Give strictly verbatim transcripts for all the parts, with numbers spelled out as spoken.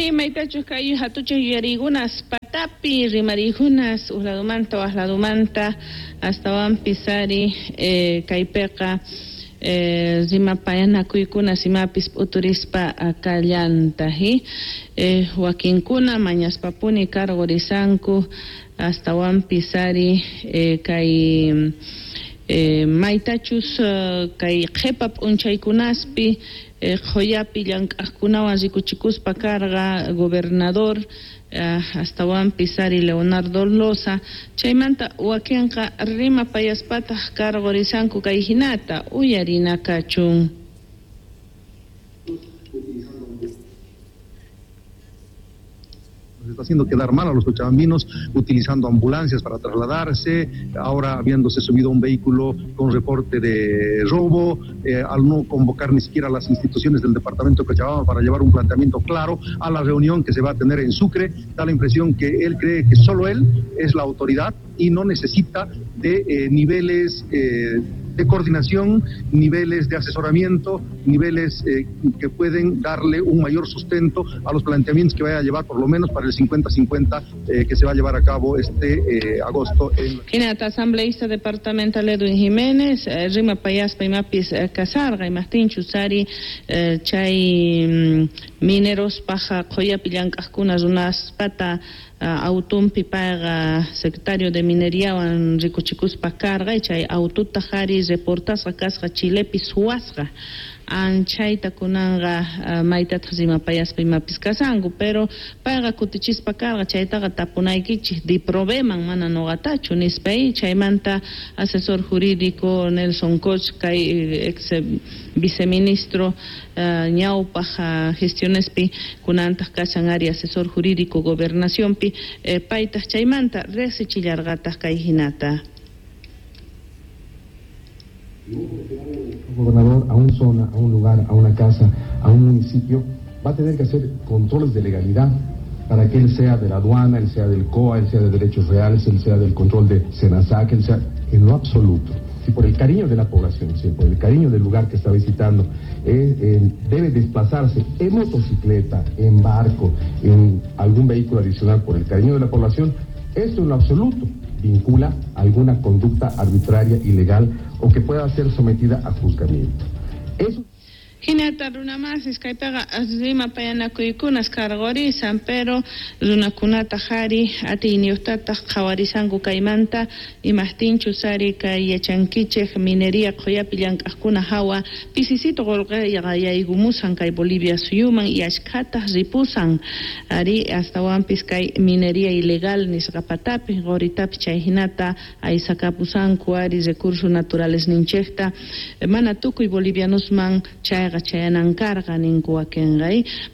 Ari maytachus kay hatuchaq yuyariykunas patapi rimariykunas uqladumanta waqladumanta astawanpis ari eh, kaypiqa eh, rimapayanakuykunas imapis p'uturispa kallanta hi eh, wakinkuna mañaspapuni karqurisanku astawanpis ari eh, kay eh, maytachus uh, kay qhipa p'unchaykunaspi eh, qhuyapi llank'aqkunawan rikuchikuspa karqa gobernador uh, astawanpis ari Leonardo Loza chaymanta wakinqa rimapayaspataq karqurisanku kay hinata uyarina kachun. Está haciendo quedar mal a los cochabambinos utilizando ambulancias para trasladarse, ahora habiéndose subido a un vehículo con reporte de robo, eh, al no convocar ni siquiera a las instituciones del departamento de Cochabamba para llevar un planteamiento claro a la reunión que se va a tener en Sucre, da la impresión que él cree que solo él es la autoridad y no necesita de eh, niveles eh, de coordinación, niveles de asesoramiento, niveles eh, que pueden darle un mayor sustento a los planteamientos que vaya a llevar por lo menos para el cincuenta cincuenta eh, que se va a llevar a cabo este eh, agosto. En... Hinata asambleísta departamental Edwin Jiménez, eh, rima payaspa imapis eh, kasarqa imajtinchus ari eh, chay mm, mineros paja qhuyapi llank'aqkuna runaspata autumpi payqa secretario de mineriawan rikuchikuspa karqa chay aututa qhari reportasqa kasqa Chilepi suwasqa anchayta kunanqa uh, maytataq rimapayaspa imapis kasanku pero payqa kutichispa karqa chaytaqa tapunaykichik diprobeman mana nuqatachu nispa chaymanta asesor jurídico Nelson Koch kay ex viceministro uh, ñawpaq uh, gestionespi kunantaq kashan ari asesor jurídico gobernacionpi eh, paytaq chaymanta riqsichillarqataq kay hinata. Un gobernador a una zona, a un lugar, a una casa, a un municipio, va a tener que hacer controles de legalidad para que él sea de la aduana, él sea del C O A, él sea de derechos reales, él sea del control de SENASAC, él sea en lo absoluto. Si por el cariño de la población, si por el cariño del lugar que está visitando, eh, eh, debe desplazarse en motocicleta, en barco, en algún vehículo adicional por el cariño de la población, esto en lo absoluto vincula alguna conducta arbitraria, ilegal o que pueda ser sometida a juzgamiento. Eso. Hinata runamasis kaypiqa rimapayanakuykunas karqurisan pero runakunata qhari atiyniyuqtataq qhawarisanku kaymanta imajtinchus ari kay yachankichik minería qhuyapi llank'aqkuna hawa pisisito qullqiqa yaykumusan kay Bolivia suyuman y ashkhataq ripusan ari astawanpis kay minería ilegal nisqa patapi quritapi chay hinata aysakapusanku ari recursos naturales ninchikta mana tukuy bolivianosman chayqa chayanan karqa ninku wakinqa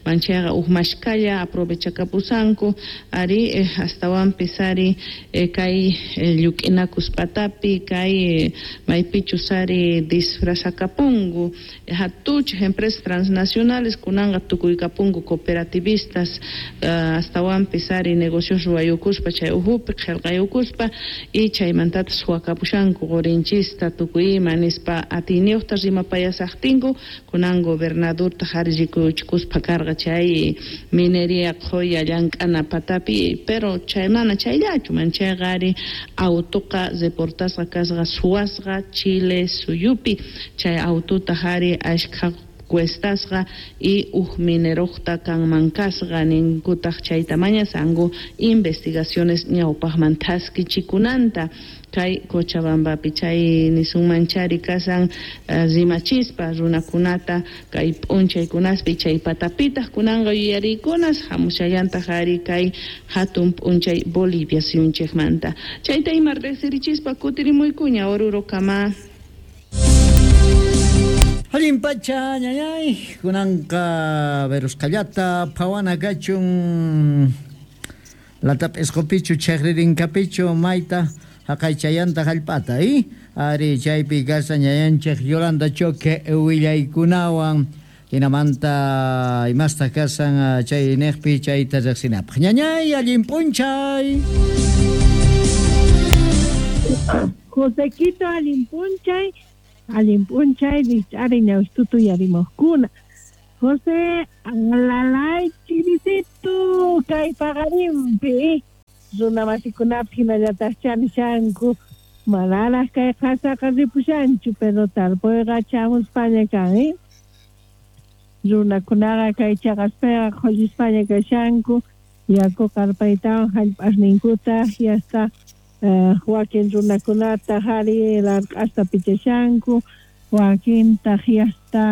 manchayqa uj mashkalla aprovechakapusanku ari eh, astawanpis ari eh, kay eh, lluk'inakus patapi kay eh, maypichus ari disfrazakapunku eh, hatuchej empresas transnacionales kunanqa tukuykapunku cooperativistas uh, astawanpis ari negocios ruwayukuspa chay ujupi qhillqayukuspa y chaymantataq suwakapushanku qurinchista tukuy ima nispa atiyniyuqta rimapayasaqtinku kunan gobernador ari rikuchikuspa karqa chay minería qhuya llank'ana patapi pero chay mana chayllachu manchayqa ari autuqa reportasqa kasqa suwasqa Chile suyupi chay aututa ari ashkha cuestasqa y uj mineruqta kanman kasqa ninkutaq chayta mañasanku investigaciones ñawpaqman thaskichikunanta kay Cochabambapi chay nisunmanchari kasan uh, rimachispa runakunata kay p'unchaykunaspi chay patapitaq kunanqa yuyariykunas hamushallantaq ari kay hatun p'unchay Bolivia suyunchikmanta chayta ima riqsirichispa kutirimuykuña Oruro kama. Allin pacha ñañay kunanqa verusqallata phawana kachun latap'isqupichu chaqririnkapichu mayta haqaychayanta hallp'ata i ari chaypi kashan ñañanchik Yolanda Choque willaykunawan hinamanta imastaq kashan chay niqpi chayta riqsinapaq ñañay allin p'unchay. Josequito allin p'unchay allin p'unchay rich'ari ñawitutu yarimuqkuna José alalay chirisitu Runamasikunapi hinallataq chanishanku manaraq kay qasaqa ripushanchu, pero tarpuyqa chamuspaña kan, eh? Runakunaqa kay chaqaspiqa qhullispaña kashanku, yaku qarpaytawan hallp'asninkuta yasta uh, wakin runakunata hari larq'asta pichashanku, wakintaq yasta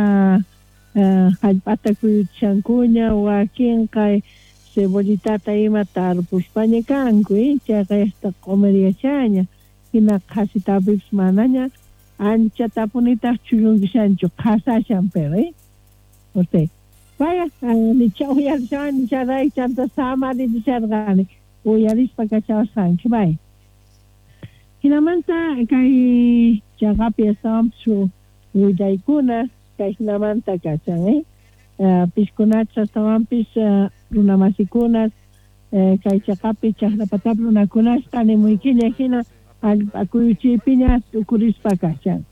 uh, hallp'ata kuyuchishankuña, wakinqa cebollitata ima tarpuspaña kanku, eh? Chayqa yasta q'umiriyashaña, hina qhasitapipis manaña anchatapunitaq chullunkishanchu, qhasashan pero, eh? José, vaya, nicha uyarishan, nicha ray chanta samarisharqani, uyarispa kachawasqanki, vaya. Hinamanta kay chaqapi astawanpis willaykuna kay hinamanta kachan, eh? Uh, piskunachas astawanpis uh, runamasikunas uh, kay chaqapi chaqrapatapi runakunasqa nimuykiña hina allpa kuyuchiypiña tukurispa kachan.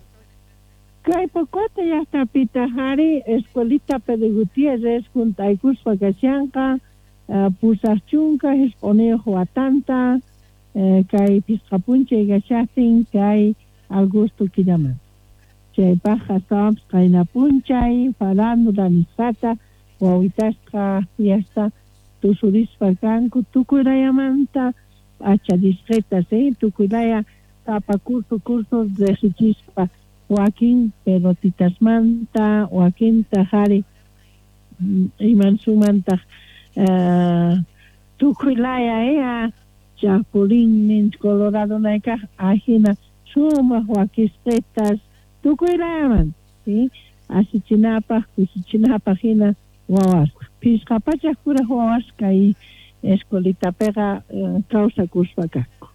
Kay Pocota llaqtapita hari escuelita Pedro Gutiérrez juntaykuspa kashanqa uh, pusaq chunka hisq'uniyuq watanta uh, kay pisqa p'unchay kashaqtin kay agosto killamanta. Chaypaq astawanpis qayna p'unchay farándula nisqata wawitasqa fiesta tusurispa kanku tukuylayamanta p'achadisqitas, eh, tukuylaya sapa curso curso riqsichispa, wakin pelotitasmanta, wakintaq hari imansumantaq uh, tukuylaya, eh, chapulín colorado naykaq ajina sumaq wakisqitas tukuylayaman, ¿sí? Asichinapaq kusichinapaq hina wawasqa phisqa pachak kuraq wawas kay escuelitapiqa uh, kawsakuspa kanku.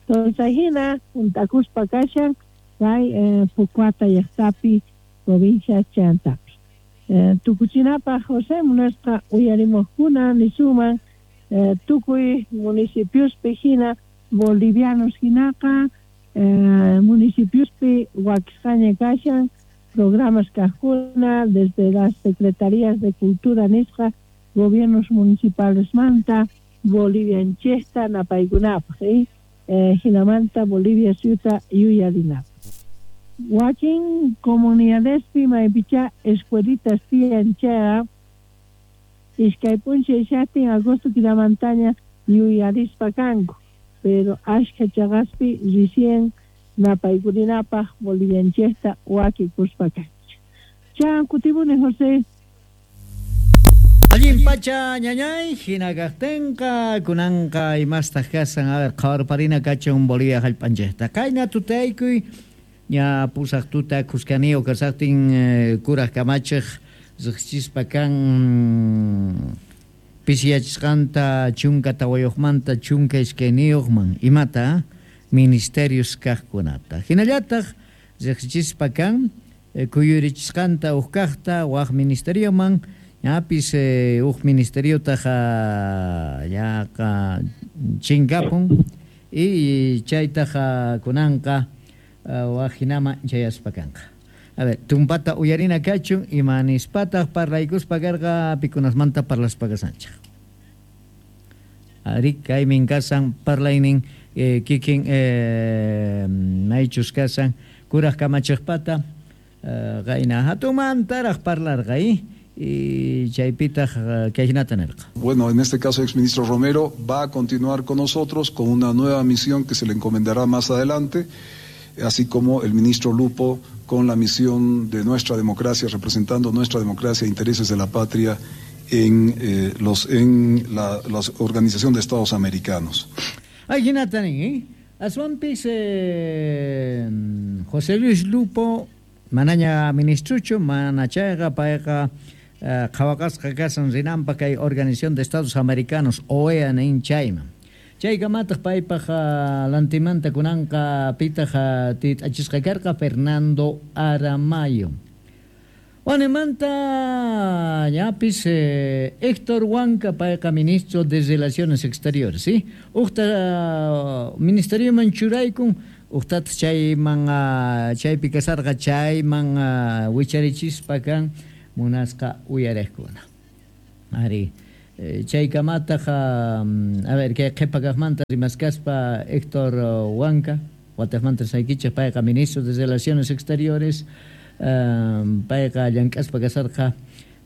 Entonces hina juntakuspa kashan kay eh, Pocuata llaqtapi provincia Chantapi. Eh, tukuchinapaq José munasqa uyarimuqkuna nisuman eh, tukuy municipiospi hina bolivianos hinaqa eh, municipiospi wakisqaña kashan programas kaqkuna desde las secretarías de cultura nisqa gobiernos municipales manta Bolivianchesta napaykunapaq, eh? Eh, hinamanta Bolivia suyuta yuyarinapaq. Wakin comunidadespi maypicha escuelitas tiyan chayqa iskay p'unchay shaqtin agosto killamantaña yuyarispa kanku, pero ashkha chaqaspi recién napaykurinapaq Bolivianchesta wakikuspa kanchik. Chan kutibuni José. Allin pacha ñañay, hina kaqtinqa kunanqa imastaq kasan, a ver, qhawarparina kachun Bolivia hallp'anchikta. Kayna tutaykuy ña pusaq tuta kuskaniyuq kasaqtin eh, kuraq kamachiq riqsichispa kan pisiyachisqanta chunka tawayuqmanta chunka iskayniyuqman imata ministerios kaqkunata. Hinallataq riqsichispa kan eh, kuyurichisqanta uq kaqta waq ministerioman ñapis eh, uq ministeriotaq yaqa chinkapun y chaytaq kunanqa waq hinama chayaspa kanqa. A ver, tumpata uyarina kachun ima nispataq parlaykuspa karqa pikunasmanta parlaspa kasanchik. Ari kaymin kasan parlaynin eh, kikin eh, maychus kasan kuraq kamachiqpata eh, qayna hatumantaraq parlarqa eh? Y chaypitaq kay hinata nirqa. Bueno, en este caso el exministro Romero va a continuar con nosotros con una nueva misión que se le encomendará más adelante, así como el ministro Lupo con la misión de nuestra democracia, representando nuestra democracia e intereses de la patria en, eh, los, en la, la Organización de Estados Americanos. Ay, hinata nin, eh? Aswanpis eh, José Luis Lupo manaña ministruchu, mana chayqa payqa qhawaqasqa kasan rinanpa kay Organización de Estados Americanos O E A nin chayman. Chaykamataq paypaq lantimanta kunanqa pitaq tit'achisqa karqa Fernando Aramayo. Wanemanta ñapis eh, Héctor Huanca payqa ministro de Relaciones Exteriores, ¿sí? Uqta ministerioman churaykun, uqtataq chayman chaypi kasarqa chayman wicharichispa kan munasqa uyariqkuna. Ari Chaykamataq a ver kay qhipa kaqmanta rimaskaspa Héctor Huanca wataqmanta saykichik payqa ministro de Relaciones Exteriores payqa llank'aspa kasarqa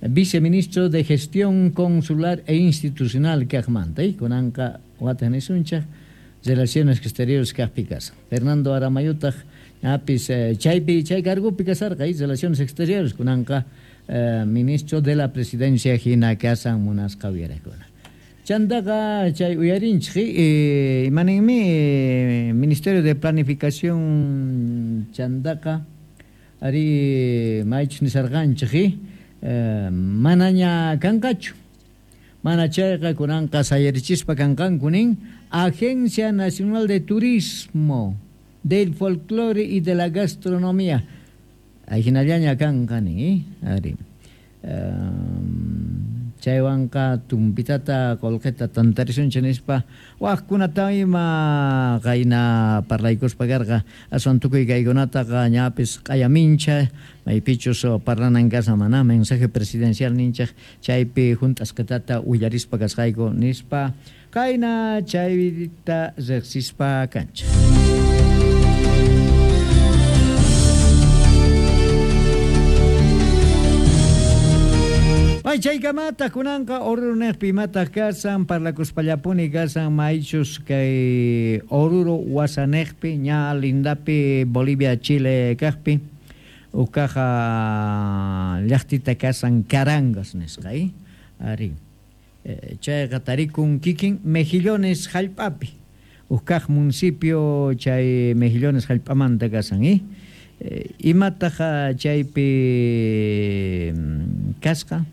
viceministro de Gestión Consular e Institucional kaqmanta kunanqa wataq nisunchik Relaciones Exteriores kaqpi kasan Fernando Aramayutaq apis chaypi chay cargopi kasarqa Relaciones Exteriores kunanqa Eh, ministro de la Presidencia hina kasan munasqa uyarakuna. Chantaqa chay uyarinchik eh, imaninmi eh, Ministerio de Planificación chantaqa ari maychus nisarqanchik eh, manaña kanqachu mana chayqa kunanqa sayarichispa kanqanku nin Agencia Nacional de Turismo del Folclore y de la Gastronomía. Ahinallaña kanqa nin, eh? Ari. Um, chaywanqa tumpitata qolqeta tantarisunchik nispa waqkunata ima qayna parlaykuspa karqa aswan tukuy kaykunataqa ñapis q'ayamincha maypichus parlanan kasa mana mensaje presidencial ninchik chaypi hunt'asqatata willarispa kasqayku nispa qayna chayta riqsispa kanchik. Ay, chaykamata kunanqa Oruro niqpi imataq kasan parlakuspallapuni kasan maychus kay Oruro wasaniqpi ña lindapi Bolivia Chile kaqpi ukaqa llaqtita kasan Carangas nisqa eh? Ari eh, chayqa tarikun kikin Mejillones hallp'api ukaq municipio chay Mejillones hallp'amanta kasan eh? Eh, imataq chaypi kasqa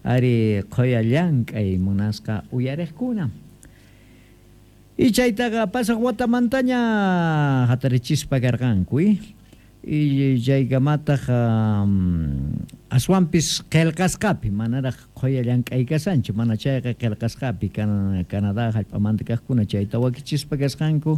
ari qhoya llank'ay munasqa uyariqkuna. Y chaytaqa pasaq watamantaña hatarichispa karqanku y chaykamataq um, aswanpis qillqasqapi manaraq qhoya llank'ay kasanchu mana chayqa qillqasqapi kan Canadá hallp'amanta kaqkuna chayta wakichispa kasqanku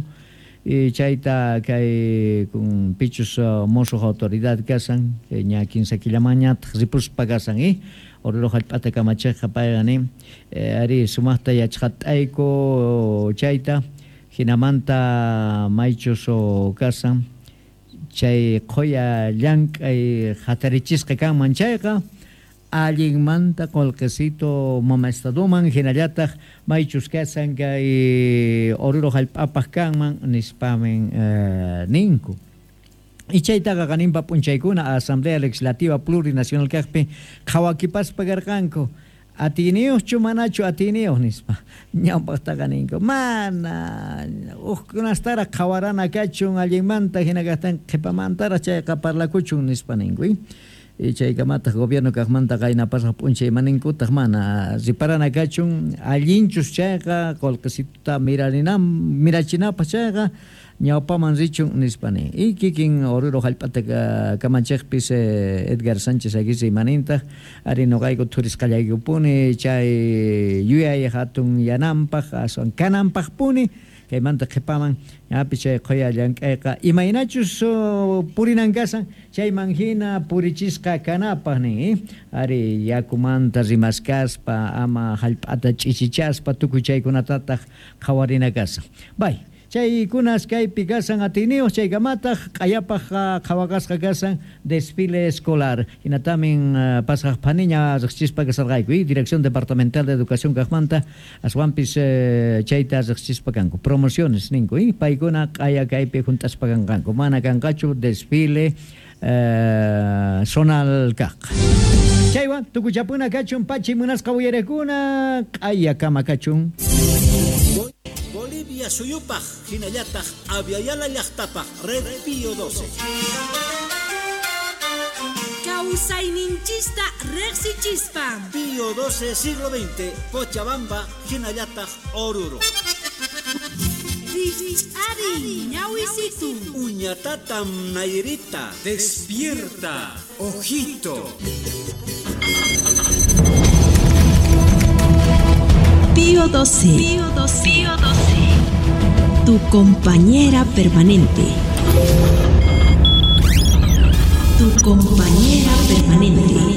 y chayta kay kun pichus uh, mosuq autoridad kasan ña kinsa killamañataq ripuspa kasan eh? Oruro hallp'ata kamachiqqa payqa nin eh, ari sumaqta yachqat'ayku chayta hinamanta maychus kasan chay qhoya llank'ay hatarichisqa kanman chayqa allinmanta qolqesito mama estadoman hinallataq maychus kasan kay Oruro hallp'apaq kanman nispamin eh, ninku. Y chaytaqa qaninpa p'unchaykuna Asamblea Legislativa Plurinacional kaqpi qhawakipaspa karqanku atiniyuqchu manachu atiniyuq nispa ñawpaqtaqa ninku mana hukkunastaraq qhawarana kachun allinmanta hina kaqtin qhipamantaraq chayqa parlakuchun nispa ninku y chaykamataq gobierno kaqmanta qayna pasaq p'unchay maninkutaq mana riparana kachun allinchus chayqa qolqesituta mirarinam mirachinapaq chayqa ñawpaman richun nispa nin y kikin Oruro hallp'ata kamachiqpis Edgar Sánchez Aguirre imanintaq ari nuqayku thurisqallaykupuni chay yuyay hatun yananpaq aswan kananpaqpuni kaymanta qhipaman ñapis chay qhoya llank'ayqa imaynachus purinan kasan chayman hina purichisqa kanapaq nin eh? Ari yakumanta rimaskaspa ama hallp'ata ch'ichichaspa tukuy chaykunatataq qhawarina kasan bay chaykunas kaypi kasan atiniyuq chaykamataq q'ayapaq qhawaqasqa kasan desfile escolar hinatamin uh, pasaq phaniña riqsichispa kasarqayku y Dirección Departamental de Educación kaqmanta aswanpis eh, chayta riqsichispa kanku promociones ninku y paykuna q'aya kaypi hunt'aspa kanqanku mana kanqachu desfile eh, zonal kaq chaywan tukuchapuna kachun pachi munasqa uyarakuna q'aya kama kachun. Bolivia suyupaj, hinallataq Aviala llaqtapaj, Red Pío doce. Kawsayninchista riqsichispa. Pío doce, siglo veinte, Cochabamba, hinallataq Oruro. Ari, ñawisitu. Uñatatam Nairita. Despierta, ojito. Pío doce. Pío doce. Pío doce. Tu compañera permanente. Tu compañera permanente.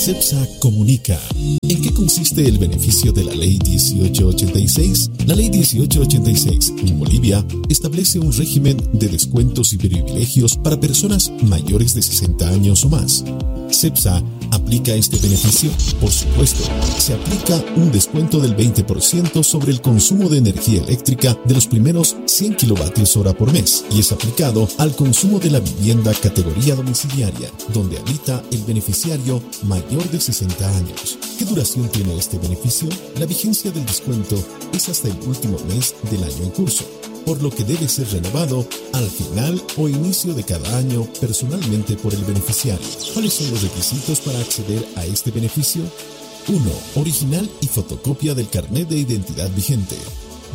CEPSA comunica. ¿En qué consiste el beneficio de la Ley dieciocho ochenta y seis? La Ley dieciocho ochenta y seis en Bolivia establece un régimen de descuentos y privilegios para personas mayores de sesenta años o más. ¿CEPSA aplica este beneficio? Por supuesto, se aplica un descuento del veinte por ciento sobre el consumo de energía eléctrica de los primeros cien kilovatios hora por mes y es aplicado al consumo de la vivienda categoría domiciliaria, donde habita el beneficiario mayor de sesenta años. ¿Qué duración tiene este beneficio? La vigencia del descuento es hasta el último mes del año en curso, por lo que debe ser renovado al final o inicio de cada año personalmente por el beneficiario. ¿Cuáles son los requisitos para acceder a este beneficio? uno. Original y fotocopia del carnet de identidad vigente.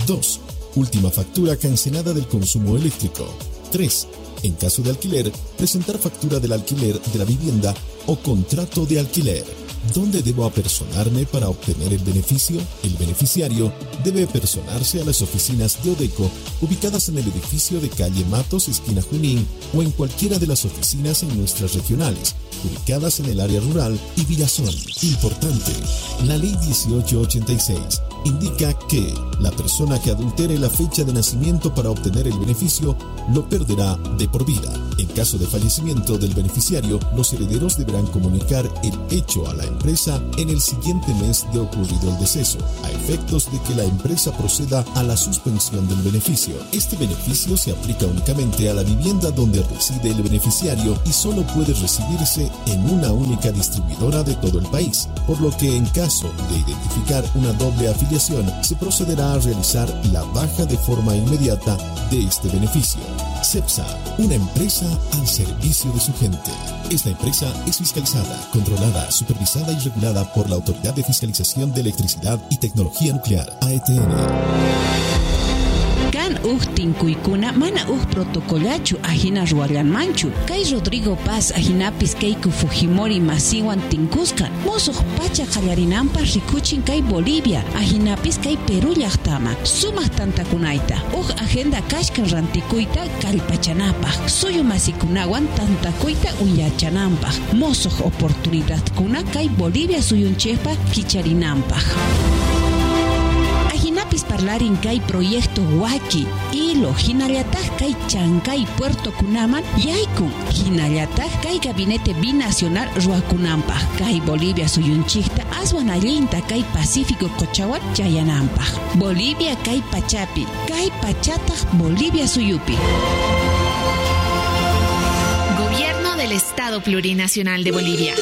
dos. Última factura cancelada del consumo eléctrico. tres. En caso de alquiler, presentar factura del alquiler de la vivienda o contrato de alquiler. ¿Dónde debo apersonarme para obtener el beneficio? El beneficiario debe apersonarse a las oficinas de Odeco ubicadas en el edificio de calle Matos, esquina Junín, o en cualquiera de las oficinas en nuestras regionales, ubicadas en el área rural y Villazón. Importante, la Ley dieciocho ochenta y seis indica que la persona que adultere la fecha de nacimiento para obtener el beneficio lo perderá de por vida. En caso de fallecimiento del beneficiario, los herederos deberán comunicar el hecho a la empresa en el siguiente mes de ocurrido el deceso, a efectos de que la empresa proceda a la suspensión del beneficio. Este beneficio se aplica únicamente a la vivienda donde reside el beneficiario y solo puede recibirse en una única distribuidora de todo el país, por lo que en caso de identificar una doble afiliación, se procederá a realizar la baja de forma inmediata de este beneficio. CEPSA, una empresa al servicio de su gente. Esta empresa es fiscalizada, controlada, supervisada y regulada por la Autoridad de Fiscalización de Electricidad y Tecnología Nuclear, A E T N. Kan uj tinkuykuna mana uj protocolachu ajina ruwallanmanchu. Kay Rodrigo Paz ajinapis Keiko Fujimori masiwan tinkusqa musuq pacha qallarinanpaq rikuchin kay Bolivia ajinapis kay Perú llaqtama sumaq tantakunayta uj agenda kashkan rantikuyta kallpachanapaq suyu masikunawan tantakuyta uyachananpaq musuq oportunidadkuna kay Bolivia suyunchikpa kicharinanpaq. Ajinapis parlarin kay proyecto Huaki, Ilo, hinallataj kay Chancay Puerto Kunaman yaykun, hinallataj kay gabinete binacional ruakunanpaj, kay Bolivia suyunchikta aswan allinta kay Pacífico qochawan chayananpaj. Bolivia kay pachapi, kay pachataj Bolivia suyupi. Gobierno del Estado Plurinacional de Bolivia.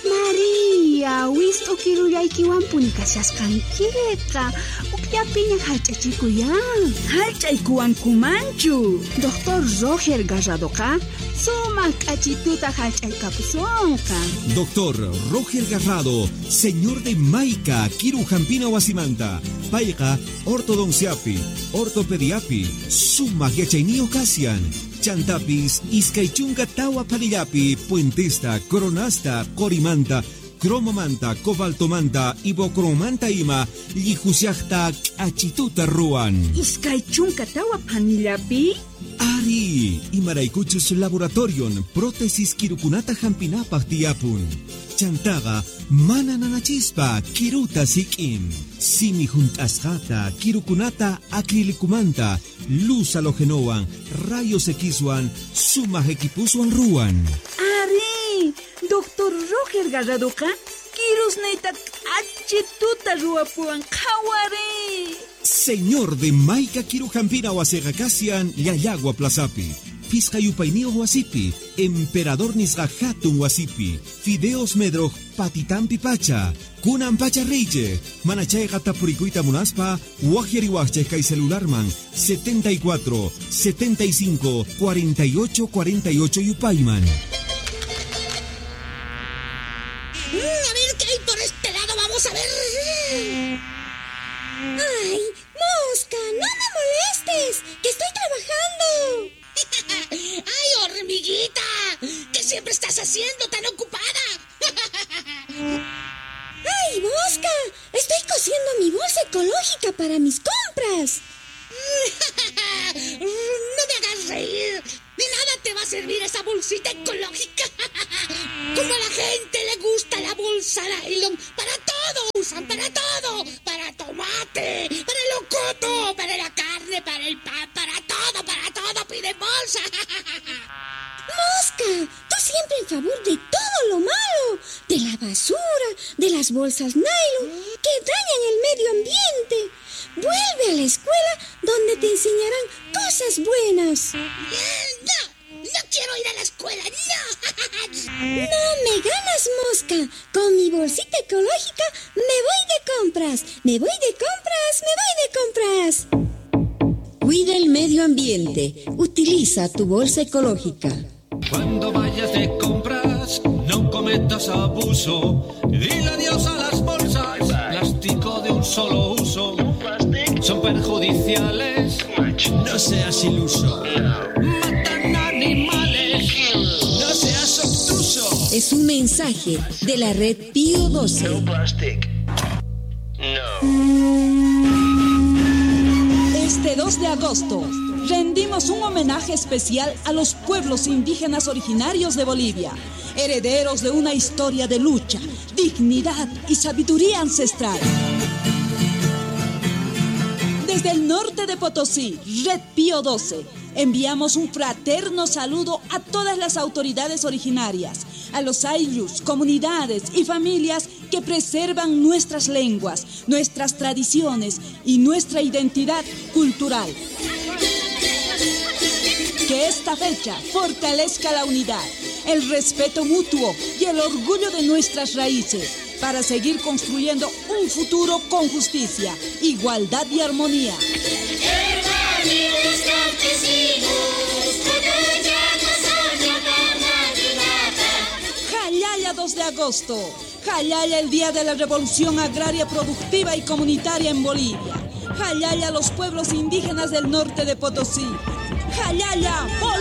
María, wist'u kirullaykiwanpuni kashasqankiqa. Ukllapiña hallch'achikuyan. Hallch'aykuwankumanchu. Doctor Roger Garradoqa sumaq k'achituta hallch'aykapusunqa. Doctor Roger Garrado, señor de Maica, Kiru Jampina Wasimanta, payqa ortodonciapi, ortopediapi, sumaq yachayniyo kasian. Chantapis, iskay chunka tawa panillapi, puentesta, coronasta, corimanta, cromomanta, cobaltomanta, ibocromanta ima, llijusiajta, k'achituta ruwan. Iskay chunka tawa panillapi? Ari, imaraykuchus laboratorion, prótesis kirukunata hampinapaq tiyapun. Chantaqa, mana nanachispa, kiruta sik'in. Simi junt'asqata, kirukunata acrilicumanta, luz halogenowan, rayos Xwan, sumaq equipuswan ruwan. Ari, Doctor Roger Garradoqa, kirusniyta k'achituta ruwapuwan qhawari. Señor de Maica Kirujampina wasiqa kasian Llallagua Plazapi. Pisqa yupayniyuq wasipi, Emperador nisqa hatun wasipi, Fideos Medroj patitampi pacha, kunan pacha reyche, manachayqa tapurikuyta munaspa, waqyariwaqchej kay celularman setenta y cuatro, setenta y cinco, cuarenta y ocho, cuarenta y ocho yupayman. A ver qué hay por este lado, vamos a ver. Ay, mosca, no me molestes, que estoy trabajando. ¡Ay, hormiguita! ¿Qué siempre estás haciendo tan ocupada? ¡Ay, mosca! Estoy cosiendo mi bolsa ecológica para mis compras. ¡No me hagas reír! ¡De nada te va a servir esa bolsita ecológica! ¡Como a la gente le gusta la bolsita! Bolsa nylon, para todo usan, para todo, para tomate, para el locoto, para la carne, para el pan, para todo, para todo piden bolsa. Mosca, tú siempre en favor de todo lo malo, de la basura, de las bolsas nylon que dañan el medio ambiente. Vuelve a la escuela donde te enseñarán cosas buenas. No, no quiero ir a la escuela, no. No me ganas, Mosca. Con mi bolsita ecológica me voy de compras. Me voy de compras, me voy de compras. Cuida el medio ambiente. Utiliza tu bolsa ecológica. Cuando vayas de compras, no cometas abuso. Dile adiós a las bolsas, plástico de un solo uso. Son perjudiciales, no seas iluso. Matan animales, no seas obtuso. Es un mensaje de la red Pío doce. No plastic. No. Este dos de agosto rendimos un homenaje especial a los pueblos indígenas originarios de Bolivia, herederos de una historia de lucha, dignidad y sabiduría ancestral. Desde el norte de Potosí, Red Pío doce, enviamos un fraterno saludo a todas las autoridades originarias, a los ayllus, comunidades y familias que preservan nuestras lenguas, nuestras tradiciones y nuestra identidad cultural. Que esta fecha fortalezca la unidad, el respeto mutuo y el orgullo de nuestras raíces para seguir construyendo un futuro con justicia, igualdad y armonía. Jallalla dos de agosto. Jallalla el día de la revolución agraria productiva y comunitaria en Bolivia. Jallalla los pueblos indígenas del norte de Potosí. Jallalla, Bolivia.